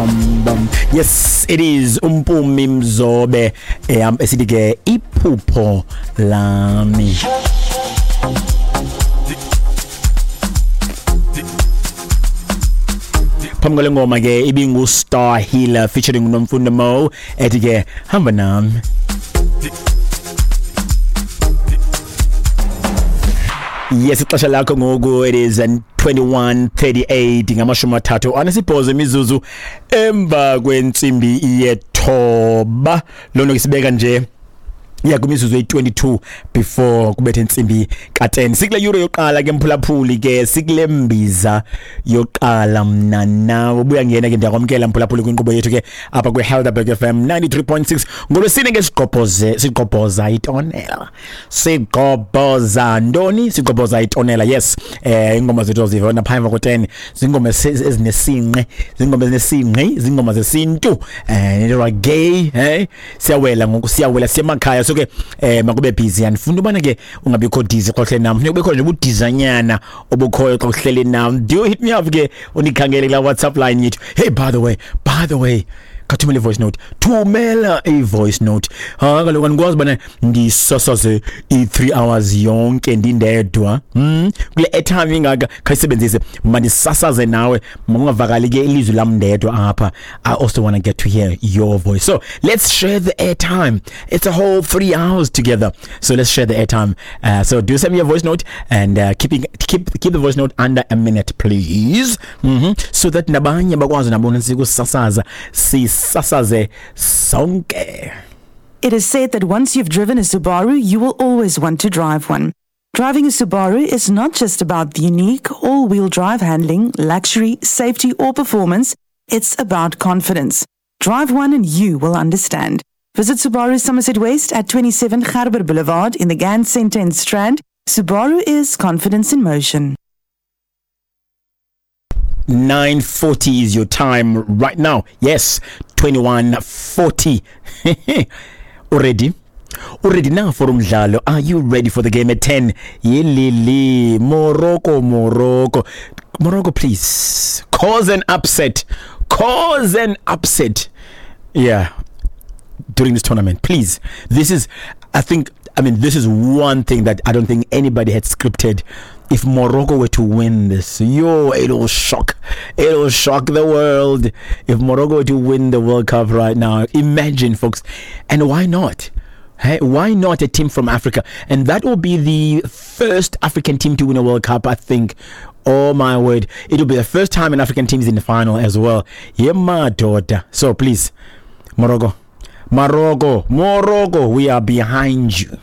bam bam. Yes, it is uMpumi Mzobe, esithi ke iphupho lami. Phambi kwale ngoma ke ibingu Star Healer featuring Nomfundo Mo, ethi ke hamba nami. Yes, ixesha lakho ngoku, it is 21:38, 38 imizuzu emva kwentsimbi yethoba. Loo nto ke sibeka nje ya kwimizuzu eyi-22 before kubethe intsimbi ka-10. Sikule yure yokuqala ke, mphulaphuli, ke sikule mbiza yokuqala mna nawe. Ubuya ngena ke, ndiyakwamkela mphulaphuli kwinkqubo yethu ke apha kwi-Helderberg FM 93.6 ngolwesine ke. Sigqobhoze, sigqobhoza itonela. Sigqobhoza ntoni? Sigqobhoza itonela, yes. Ingoma zethu zivona phaa emva ko-10, zingoma ezinesinqe, zingoma ezinesinqi, zingoma zesintu, reggae. Siyawela ngoku, siyawela, siyemakhaya. So ke makube busy, andifuna ubana ke ungabikho dizzy xa uhleli nam. Funeka kubekho nje ubudizanyana obukhoyo xa uhleli nam. Do hit me up ke, undikhangele kulaa WhatsApp line yethu. Hey, by the way, khathumela i-voice note, thumela i-voice note. Ha, kaloku andikwazi ubana ndisasaze i-3 hours yonke ndindedwa. Kule airtime ingaka, khayisebenzise, mandisasaze nawe, makungavakali ke ilizwi lam ndedwa apha. I also want to get to hear your voice, so let's share the airtime. It's a whole 3 hours together, so let's share the airtime. So do send me a voice note and keep the voice note under a minute, please, so that nabanye bakwazi nabona sikusasaza, sisasaze sonke. It is said that once you've driven a Subaru, you will always want to drive one. Driving a Subaru is not just about the unique all wheel drive handling, luxury, safety, or performance. It's about confidence. Drive one and you will understand. Visit Subaru Somerset West at 27 Gerber Boulevard in the Gann Center in Strand. Subaru is confidence in motion. 9:40 is your time right now. Yes, 21:40. Already? Already now for umdlalo. Are you ready for the game at 10? Yelele, Morocco, Morocco. Morocco, please. Cause an upset. Cause an upset. Yeah. During this tournament, please. This is, I think, I mean, this is one thing that I don't think anybody had scripted. If Morocco were to win this, yo, it'll shock. It'll shock the world. If Morocco were to win the World Cup right now, imagine, folks. And why not? Hey, why not a team from Africa? And that will be the first African team to win a World Cup, I think. Oh my word. It'll be the first time an African team is in the final as well. Yeah, my daughter. So please, Morocco. Morocco, Morocco, we are behind you.